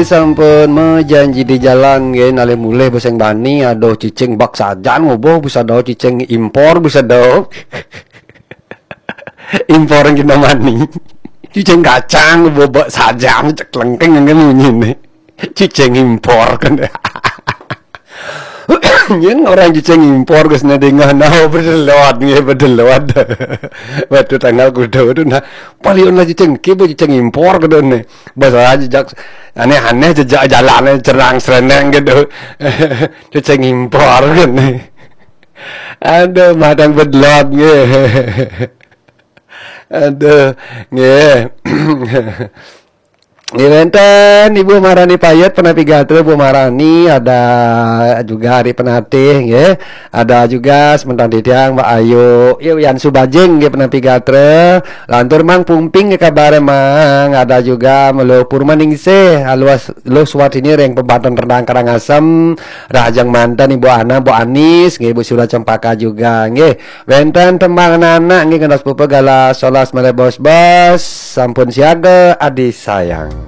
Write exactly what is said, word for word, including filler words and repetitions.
Sampun majanji di jalan nggih, nalih mulih bes sing bani, aduh cicing bak sajan ngoboh, bes ada cicing impor, bes ada. Impor yang kita mani. Cicing kacang ngoboh bak sajan, cek lengkeng yang munyine. Cicing impor kan. Yen orang cicing impor ke sini dingah, nah, bedelot nggih, bedelot. Waktu tanggal kuda itu, nah, paling lah cicing, kiba cicing impor ke done. Bahasa aja jak aneh-aneh, jejak jalannya cerang sereneng gitu. Cicing impor kan. Aduh, madang bedelot nggih. Aduh, nggih. Nggih, wenten Ibu Marani Payet, penapi gatra Bu Marani, ada juga Ari Penatih, nggih. Ada juga sementang titiang Mbak Ayu, Ibu Yan Subajing, nggih, penapi gatra. Lantur Mang Pumping, nggih, kabar Mang. Ada juga Melo Purmaningsih, aluas Luh Suwatini ring Pembanten Rendang Karangasem, Rahajeng manten Ibu Ana, Bu Anis, nggih, Bu Sura Cempaka juga, nggih. Wenten tembang anak-anak, nggih, ngentos pupa galah solas malih bos-bos, sampun siaga, adi sayang.